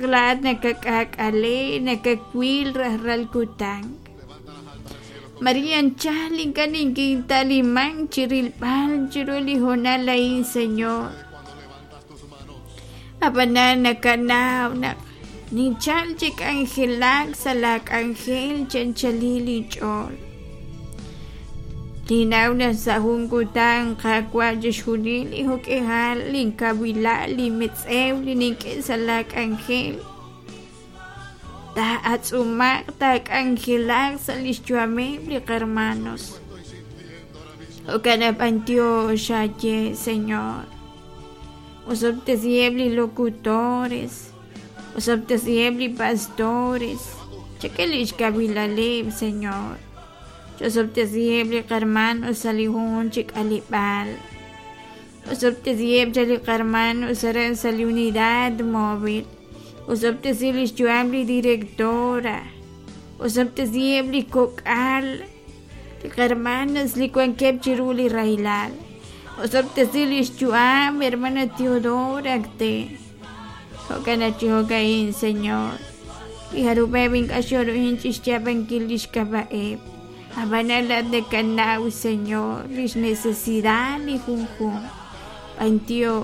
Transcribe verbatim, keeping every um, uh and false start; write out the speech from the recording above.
Laa'at nakak'aak'ale nakawil rajlal kutan. Maria anchal ink'a' ninkintaliman chi rilb'al chiru li hoonal a'in, Señor. Ab'anan nakanaw naq ninchal chi k'anjelak sa' laa k'anjel chi anchalil inch'ool. Ninnaw naq sa' jun kutan Qaawa' chixjunil li jo'k'ihal linkawilal linmetz'ew li nink'e sa' laa k'anjel taa'atz'umaq taak'anjelaq sa' lix yu'ameb' li qarmanos. Jo'kan naq b'antiox aaye, Señor. Osob'tesiheb' li locutores, osob'tesiheb' li pastores, chak'e lix kawilaleb', Señor. Osob'tesiheb' li qarmanos sa' li junjunq chi k'aleb'aal. Osob'tesiheb' cha li qarmanos aran sa' li unidad móvil. Osob'tesi lix yu'am li directora. Osob'tesiheb' li kok'al, li qarmanos li wankeb' chiru li rahilal. Osob'tesi lix yu'am hermana Teodora Acte. Jo'kan naq chi jo'ka'in, Señor. Li jarub'eb' ink'a' xoruhin chixyaab'ankil lix k'ab'a'eb'. Ab'anan laa'at nakanaw, Señor, lix necesidad li junjunq. B'antiox.